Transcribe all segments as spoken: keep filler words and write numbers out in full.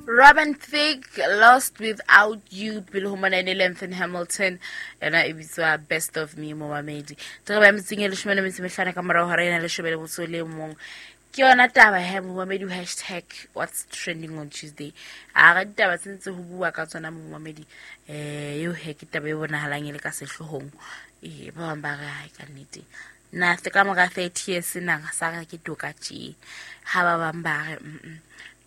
Robin Thicke, Lost Without You, pele ho mona ene Lengthen Hamilton, yona e bitswa Best of Me momamedi. Tse ba metseng e leshome le metso e mehlano ka morao hora ena leshome le motso le mong. Ke yona taba he momamedi, hashtag what's trending on Tuesday. A ga ditaba tse ntse ho bua ka tsona momamedi, eh eo he ke taba e bonahalang e le ka sehloohong. Eh ba bang ba re hai ka nnete. Na se ka mora thirty years na sa re ke toka tje. Ha ba bang ba re mm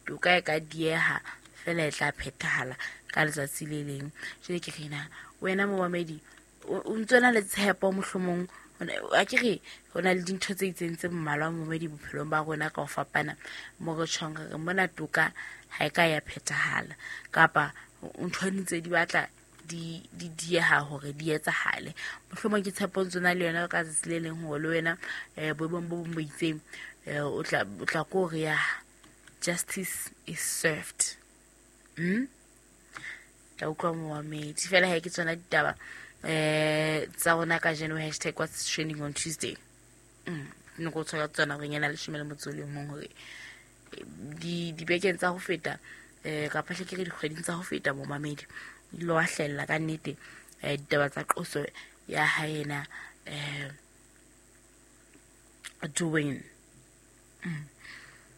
toka e ka dieha fela e tla phethahala ka letsatsi le leng. Jwale ke re na wena momamedi o ntso na le tshepo mohlomong a ke re ho na le dintho tse itseng tse mmalwa momamedi bophelong ba rona ka ho fapana mo re tjhong re re mona toka ha e ka ya phethahala kapa ntho ntse di batla di di dieha hore di etsahale. Mohlomong ke tshepo ntso na le yona ka tsatsi le leng hore le wena eh boemong bo bong bo itseng o tla o tla ko re ya justice is served. Mm? Tla utlwa momamedi. Fela ha ke tsona ditaba eh tsa rona kajeno, hashtag what's trending on Tuesday. Mm. Ne go tshwara tsona re nyana leshome le motso le mong hore di dibekeng tsa ho feta eh kapa hle ke re dikgweding tsa ho feta momamedi di lo hlella ka nnete eh ditaba tsa qoso ya haena eh Dwayne. Mm.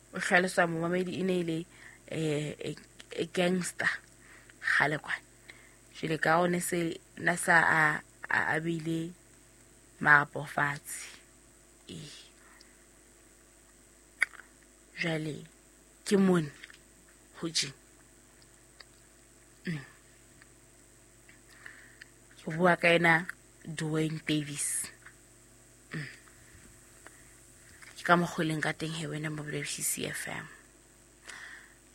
O hlalosa momamedi e ne ile eh e gangster kgale kwana. Jwale ka one se na sa a a bile marapo fatshe. Eh. Jwale ke mone ho tje. Mm. Ke bua ka ena Dwayne Davis. Mm. Ke ka mokgoleng ka teng he wena mo B C F M.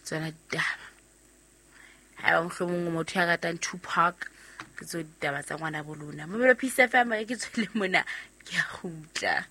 Tsona ditaba. Ha ba mohlomong motho ya ratang Tupac ke tso ditaba tsa ngwana bo lona. Mo B C F M ke tswele mona ke a kgutla.